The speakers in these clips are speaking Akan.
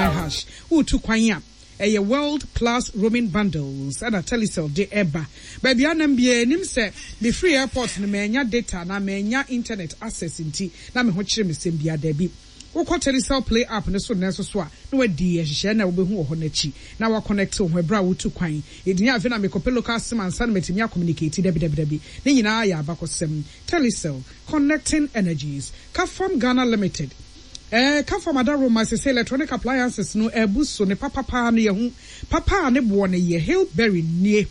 nine hash. Woretu kwan a, ɛyɛ World Plus Roaming Bundles ɛna Telecel de ɛba. Baabi a nam biara nim sɛ mefiri airport no mannya data anaa mannya internet access nti na me ho kyere me sɛm biara. Dabi. Wokɔ Telecel Play app no so nnɛ nso so a, na woadi nhyehyɛe no a wubehu wɔ hɔ no akyi, na woakɔnɛkte wo ho bere a wutu kwan. Edin afei na mekɔpɛ local sim ansa na matumi akɔmunikati? Dabi, dabi, dabi. Ne nyinaa yɛ abakɔsɛm. Telecel, Connecting Energies. Kafam Ghana Limited. Ɛɛ, Kafam adaworoma seesei electronic appliances no abu so, ne papa paa no yɛahu. Papa a ne boɔ no yɛ, Hillberry nie.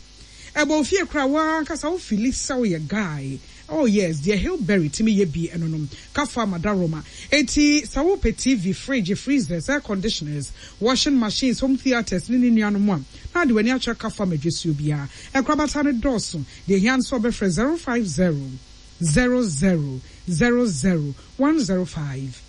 Ɛbɔ wo fie koraa, wo ara ankasa wo feeli sɛ woyɛ guy. Oh yes, deɛ Hillberry tumi yɛ bi ɛno nom, Kafa Madaroma. Enti sɛ wopɛ TV, fridge, freezers, air conditioners, washing machines, home theatres ne ne nuanom a, na ade w'ani akyerɛ Kafa madwasuo biara. Nkorabata no dɔɔso, deɛ ɛhia ne sɛ wobɛfrɛ 050 00 00 105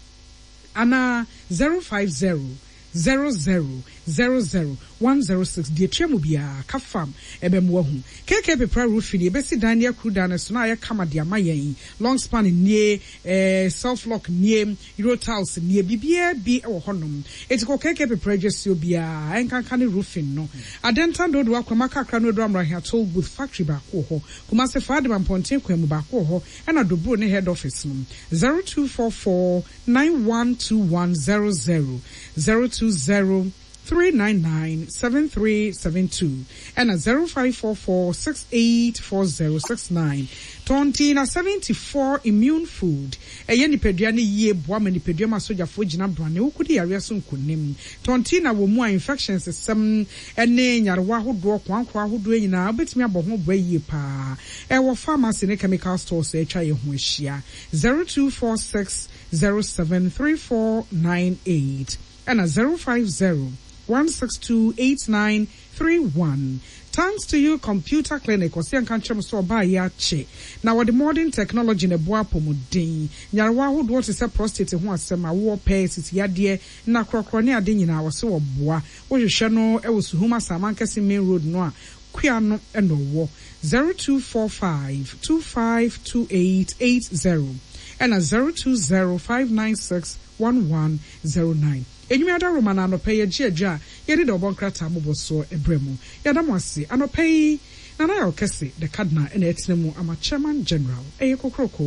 anaa 050 00 00 106 Deɛ ɛtua mu biara, ka fam, ɛbɛma woahu. KK Pepra Roofing, yɛbɛsi dan ne akuru dan no so na ayɛ kama de ama yɛn. Long span nie, eh, self lock nie, Euro tiles nie, biribiara bi wɔ hɔnom. Enti kɔ KK Pepra adwasuo biara, ɛnkanka ne roofing no. Adentan Dodowa Kwama Kakra no Aduru Amrahia Toll Booth Factory baako wɔ hɔ. Kumasi Faadima Mpɔnten kwan mu baako wɔ hɔ, ɛna Dobro ne Head Office no. 0244 912100, 020 399 7372 ɛna 0544 684069. Tɔnten na 74 Immune Food ɛyɛ nipadua no yie boa ma nipadua mu asogyafoɔ gyina brane wokodi yareɛ so nkonim. Tɔnten na wɔ mu a infections sɛm ne nyarewa ahodoɔ koankorɔ ahodoɔ nyinaa wobɛtumi abɔ ho bra yie paa. Ɛwɔ pharmacy ne chemical stores a atwa yɛn ho ahyia. 0246 073498 ɛna 050 162 8931. Thanks to you Computer Clinic ɔse yɛnka nkyerɛ mo sɛ ɔbaa yi akye na wɔde modern technology na ɛboa apɔmuden nyarewa ahodoɔ te sɛ prostate ho asɛm, awoɔ pɛ, sisi yadeɛ, nna korɔkorɔ ne ade nyinaa ɔse wɔboa. Wohwehwɛ no wɔ Suhum Asamankɛse main road no a Kua no na ɔwɔ 0245 252880 ɛna 020 596 1109. Enyim adaworoma na anɔpa yi yɛgye adwa a yɛde dɛ ɔbɔ nkrataa mmobɔsoɔ brɛ mo. Yɛda mo ase. Anɔpa yi, Nana Yaw Kɛse, the Cardinal na ɛtena mu ama Chairman General. Ɛyɛ kokroko.